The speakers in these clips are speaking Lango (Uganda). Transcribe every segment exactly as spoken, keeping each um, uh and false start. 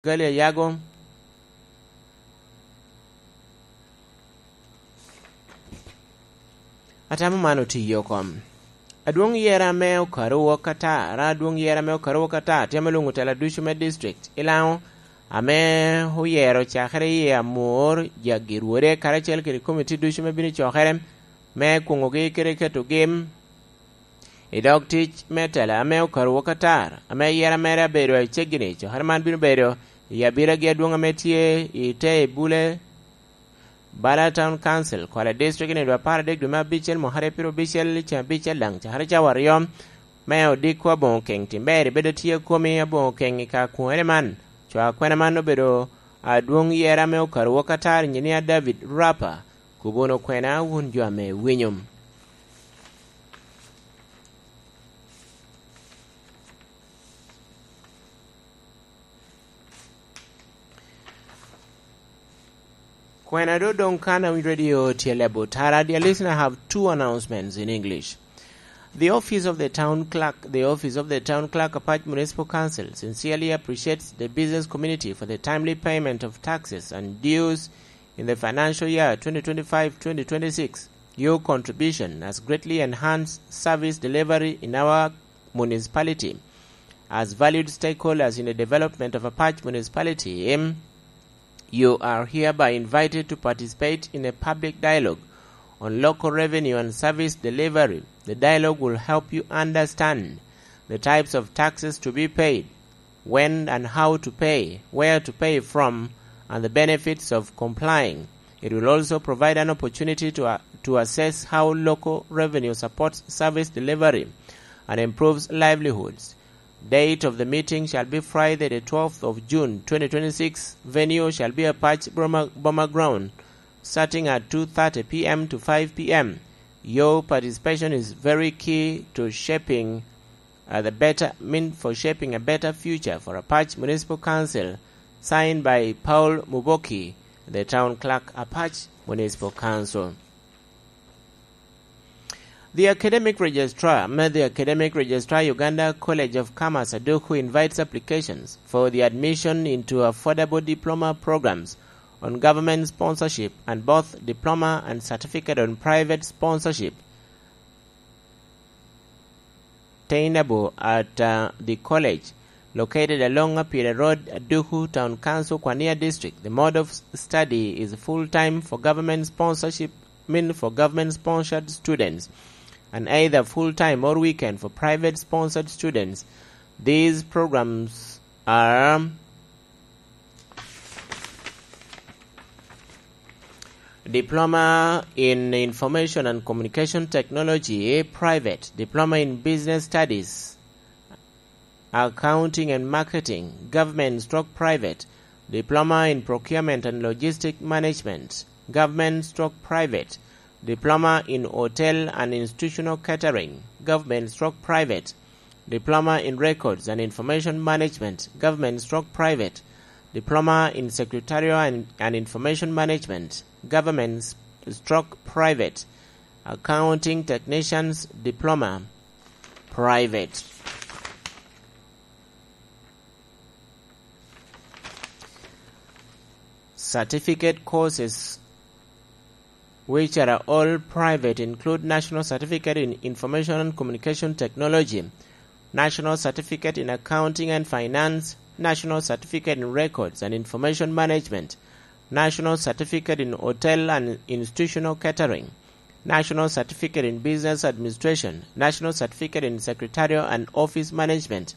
Gali Ayago. Atamo man otiyo kom. Adwoŋ yera me okaru wok atar, adwoŋ yera me okaru wok atar, tye ame olwoŋo tela ducu me district i Laŋo, ame oyero cakere i Amor, Jaggi Rwode, karacel kede komiti ducu me bino i cokere, me kwoŋogi kede ketogi i dog tic me tela ame okaru wok atar, ame yera mere abedo aceggi-ni. Cokere man bino bedo i abiragi adwoŋ ame tye i te Ebule, Bala Town Council, Kwale District, i nino apar adek dwe me abicel, mwakere pyero abicel, ceng abicel daŋ, cakere cawa aryo, me odiko aboŋo keŋ. Tim ber ibedo tye komi aboŋo keŋ i ka kwene man. Co akwena man obedo adwoŋ yera me okaru wok atar, Injinia David Rapa, Kubun okwena wun jo ame winyo. Kwena do doŋ kan a radio tye lebo tara. Dear listener, I have two announcements in English. The office of the town clerk, the office of the town clerk, Apac Municipal Council, sincerely appreciates the business community for the timely payment of taxes and dues in the financial year twenty twenty-five twenty twenty-six. Your contribution has greatly enhanced service delivery in our municipality. As valued stakeholders in the development of Apac Municipality, you are hereby invited to participate in a public dialogue on local revenue and service delivery. The dialogue will help you understand the types of taxes to be paid, when and how to pay, where to pay from, and the benefits of complying. It will also provide an opportunity to, uh, to assess how local revenue supports service delivery and improves livelihoods. Date of the meeting shall be Friday, the twelfth of June, twenty twenty-six. Venue shall be Apac Boma, Boma Ground, starting at two thirty p m to five p m. Your participation is very key to shaping, uh, the better, mean for shaping a better future for Apac Municipal Council. Signed by Paul Muboki, the town clerk, Apac Municipal Council. The academic registrar, the academic registrar, Uganda College of Commerce, Aduku, invites applications for the admission into affordable diploma programs on government sponsorship and both diploma and certificate on private sponsorship attainable at, uh, the college located along Apira Road, Aduku Town Council, Kwania District. The mode of s-, study is full-time for government sponsorship, mean for government-sponsored students, and either full-time or weekend for private-sponsored students. These programs are Diploma in Information and Communication Technology, private, Diploma in Business Studies, Accounting and Marketing, government stroke private, Diploma in Procurement and Logistic Management, government stroke private, Diploma in Hotel and Institutional Catering, government stroke private, Diploma in Records and Information Management, government stroke private, Diploma in Secretarial and, and Information Management, government s-, stroke private, Accounting Technicians Diploma, private. Certificate courses which are all private, include National Certificate in Information and Communication Technology, National Certificate in Accounting and Finance, National Certificate in Records and Information Management, National Certificate in Hotel and Institutional Catering, National Certificate in Business Administration, National Certificate in Secretarial and Office Management,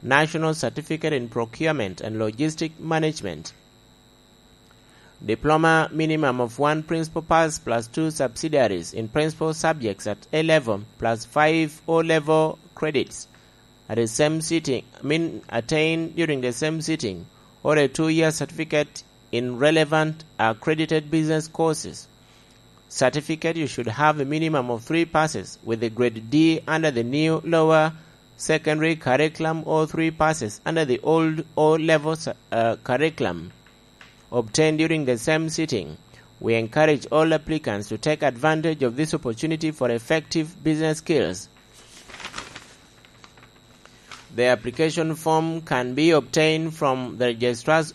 National Certificate in Procurement and Logistic Management. Diploma minimum of one principal pass plus two subsidiaries in principal subjects at A level plus five O level credits at the same sitting, I mean, attained during the same sitting, or a two-year certificate in relevant accredited business courses. Certificate, you should have a minimum of three passes with the grade D under the new lower secondary curriculum or three passes under the old O level, uh, curriculum obtained during the same sitting. We encourage all applicants to take advantage of this opportunity for effective business skills. The application form can be obtained from the registrar's